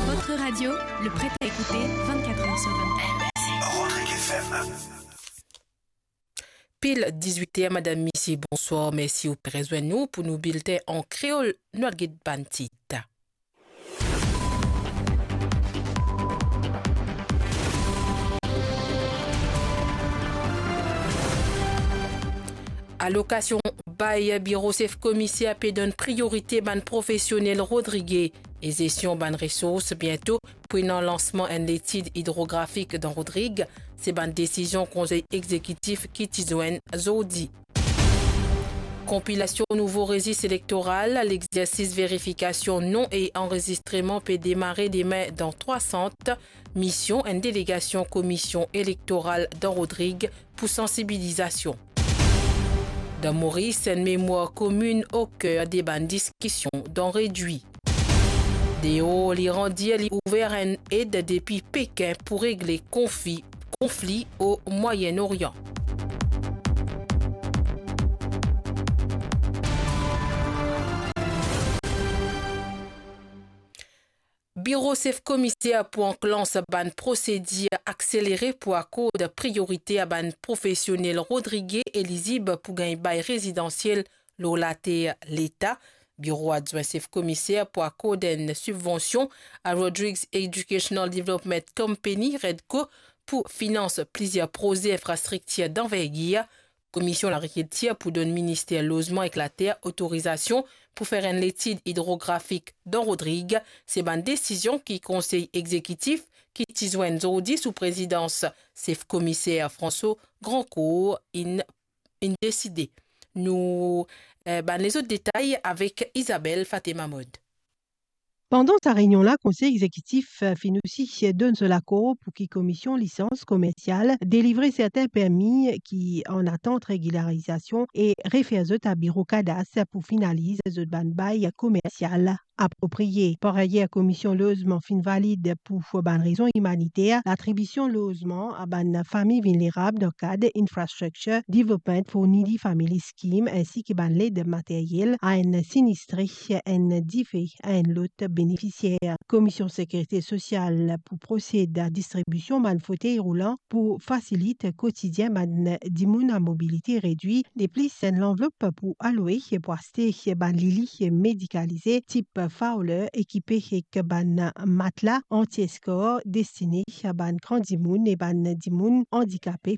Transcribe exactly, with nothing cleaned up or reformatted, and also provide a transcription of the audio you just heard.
Votre radio, le prêt à écouter vingt-quatre heures sur vingt-quatre. Rodrigue F M. Pil dizwit er, madam, misie, bonswar. Mersi ou pe rezwenn nou pou nou bilten an kreol. Nou al get bann tit. Alokasion bay biro sef komiser pe donn priorite bann profesionel Rodriguez e zestion bann resours. Biento pou ena lansman enn letid idrografik dan Rodrig. Se bann desizion konsey egzekitif ki ti zwenn zordi. Konpilasion nouvo rezis elektoral, lexersis verifikasion non e anrezistreman pe demare demin dan trwa sant. Mision enn delegasion Komision Elektoral dan Rodrig pou sansibilizasion. Dan Moris, enn memwar komin oker de bann diskision dan Redwi. Deor, Liran dir li ouver enn ed depi Pekin pou regle konfi-, konfli o Mwayen Orian. Biro sef komiser pou anklanse bann prosedir akselere pou akord priorite a bann profesionel Rodriguez elizib pou gagn bay rezidansiel lor later Leta. Biro adwin sef komiser pou akord enn sibvansion a Rodriguez Educational Development Company, REDCO, pou finans plizier proze infrastriktir danvergir. Komision Lagrikiltir pou donn Minister Lozman ek Later otorizasion pou fer enn letid idrografik dan Rodrig. Se bann desizion ki Konsey Egzekitif ki ti zwenn zordi sou prezidans sef komiser François Grandcourt inn, inn deside. Nou, eh, bann lezot detay avek Isabelle Fatema Mod. Pandan sa reynion la, Konsey Egzekitif, eh, finn osi donn so lakor pou ki Komision Lisans Komersial delivre sertin permi ki an atant regilarizasion e refer zot a Biro Kadas pou finaliz zot bann bay komersial aproprie. Par ayer, Komision Lozman finn valid pou bann rezon imaniter latribision lozman a bann fami vilnerab dan kad Infrastructure Development for Needy Family Scheme, ensi ki bann led materyel a enn sinistre, enn dife a enn lot benefisier. Komision Sekirite Sosial pou prosed a distribision bann fotey roulan pou fasilit kotidien bann dimoun a mobilite redwi. De plis, enn lanvlop pou aloe pou aste bann lili medikalize tip Fowler ekipe ek bann matla anti-eskor destine a bann gran dimoun e bann dimoun andikape